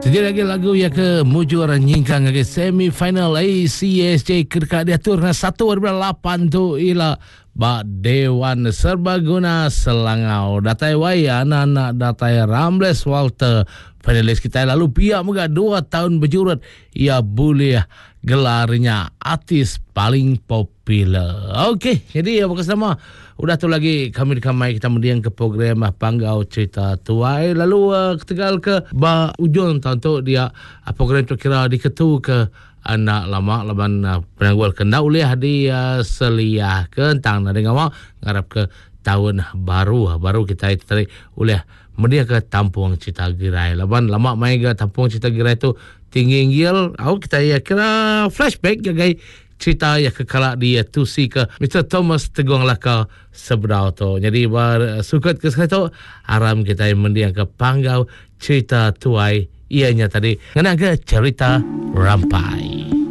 Siti lagi lagu iya ke mujur nyingkang ngagai semi final ACSJ ke deka diatur kena satu ari bulan lapan tu ila ba Dewan Serbaguna Selangau. Datai wai anak-anak datai Ramles Walter finalis kitai lalu pia mega dua taun bejurut iya bulih gelar nya artis paling popular. Okey, jadi ya bukan sama. Udah tu lagi kami deka mai kita mending ke program ah, Panggau Cerita Tuai lalu uh, ketegal ke ba ujung tahun tu dia uh, program tu kira diketu ke enda lama laban uh, penanggul ke enda ulih di uh, seliah ke entang nadai ngawa ngarap ke tahun baru baru kita tadi ulih mending ke tampung cerita girai laban lama mai ga tampung cerita girai tu tinggi inggil au kita iya kira flashback ngagai cerita iya ke kala di tusi ke Mister Thomas Tegong Laka sebedau tu. Jadi ba sukut ke sekali tu aram kitai mending ke panggau cerita tuai iya nya tadi ngena ke cerita rampai.